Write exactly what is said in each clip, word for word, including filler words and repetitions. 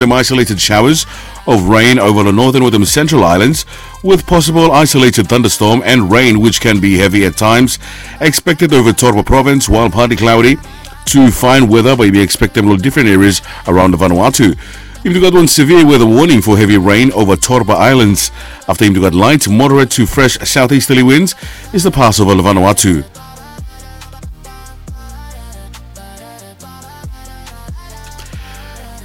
them isolated showers of rain over the northern wetem central islands, with possible isolated thunderstorm and rain, which can be heavy at times, expected over Torba province, while partly cloudy to fine weather bae yumi expectem long different areas around Vanuatu. Yumi gat one severe weather warning for heavy rain over Torba Islands. Afta yumi gat light, moderate to fresh southeasterly winds is the pass over Vanuatu.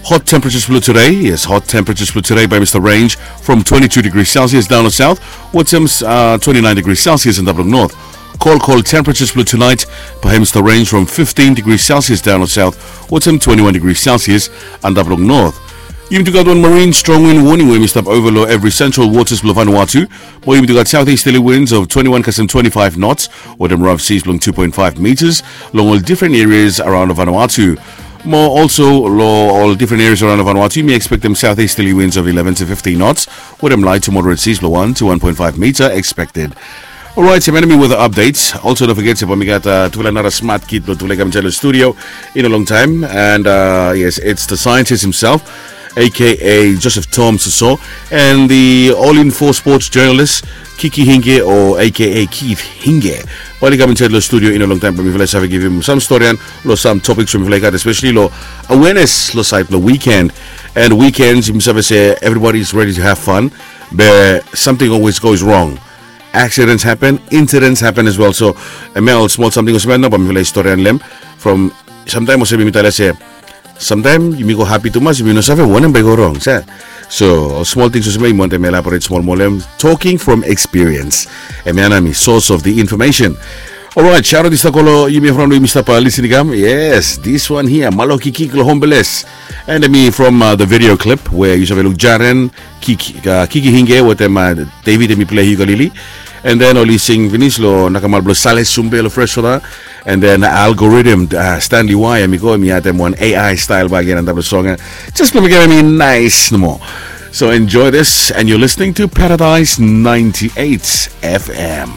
Hot temperatures blong today. Yes, hot temperatures blong today bae mista range from twenty-two degrees Celsius down to south, wetem uh, twenty-nine degrees Celsius in Dablong North. Cold, cold temperatures blong tonight bae mista range from fifteen degrees Celsius down to south, wetem twenty-one degrees Celsius in Dablong North. Yumi gat one marine strong wind warning we yumi stap ova long evri central waters blong Vanuatu. Mo yumi gat southeasterly winds of twenty-one kasem twenty-five knots, wetem rough seas blong two point five meters long ol different areas around Vanuatu. Mo also long ol different areas around Vanuatu, yumi expectem southeasterly winds of eleven to fifteen knots, wetem light to moderate seas blong one to one point five meter expected. Alright, so hemi weather updates. Also, don't forget, se bae mi gat uh, tufala nara smart kid blong tufala i kam insaed long studio in a long time. And uh, yes, it's the scientist himself, A K A Joseph Tom Soso, and the All Info sports journalist, Kiki Hinge, o A K A Keith Hinge. Bae oli kam insaed long studio in a long time, bae mifala i save givim sam storian long sam topiks we mifala i gat, especially long awareness long saed long weekend. And weekends, yumi save se everybody is ready to have fun, but something always goes wrong. Accidents happen, incidents happen as well. So, hemia ol smol samting olsem ya nao bae mifala i storian long hem. From samtaem olsem yumi talem se, samtaem yumi go hapi tumas, yumi no save wanem bae i go rong, se. So, ol smol tings olsem ya yumi wantem elaborate smol moa long hem. Talking from experience. Hemia nao hemi source of the information. Alright, shout out i stap go long yumi from we yumi stap uh, listening kam. Yes, this one here, Malo Kikik long Hombeles. And hemi from uh, the video clip where yu save luk Jaren, Kiki, uh, Kiki Hinge wetem uh, David, hemi play ukulele. And then oli sing finis long nakamal blong Sale Sumbe long Fresh Water. And then Algorithm, uh, Stanley Y, hemi go, hemi addem one A I style bakegen antap long song. Just blong mekem hemi nice nomo. So enjoy this, and you're listening to Paradise ninety-eight F M.